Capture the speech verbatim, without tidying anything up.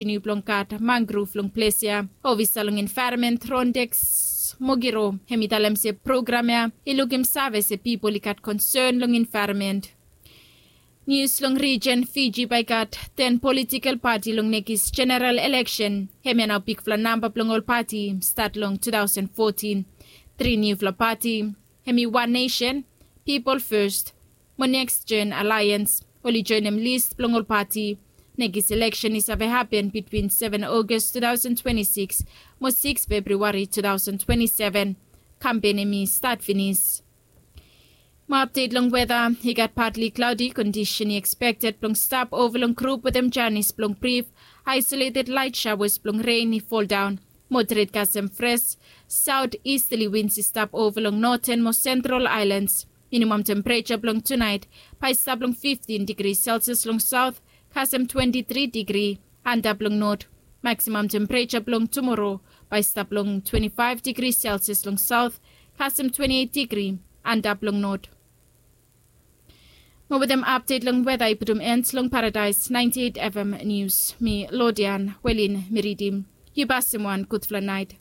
Niu blong gat mangrov long ples ya. Ofisa long envaeronment Rondex Mogiro hem i talem se program ya i lukim save se pipol i gat konsen long envaeronment. Nius long rijen Fiji bae i gat ten politikel pati long nekis jeneral eleksen. Hemia nao bigfala namba blong ol pati stat long tu taosen fotin. Tri niufala pati hem i One Nation, Pipol Fes mo Neks Jen Alaiens oli joenem lis blong ol pati. Nekis eleksen i save hapen bitwin seven Ogos tu taosen twenti sikis mo sikis Februari tu taosen twenti seven. Kampen hem i stat finis. Mo apdet long weta. I gat patli klaodi kondisen i ekspekted blong stap ova long grup wetem janis blong brif. Aisoleted lait shawas blong ren i foldaon. Moderet kasem fres saot istali wins i stap ova long noten mo sentral aelans. Minimam tempereja blong tunaet bae i stap long fiftin digri selsias long saot kasem twenti tri digri. Antap long not. Maksimam tempereja blong tumoro bae i stap long twenti faef digri selsias long saot kasem twenti eit digri. Antap long not. Mo wetem apdet long weta i putum en long paradaes naenti eit fm nius mi lodian welin mi ridim. Yu pasim wan gudfala naet.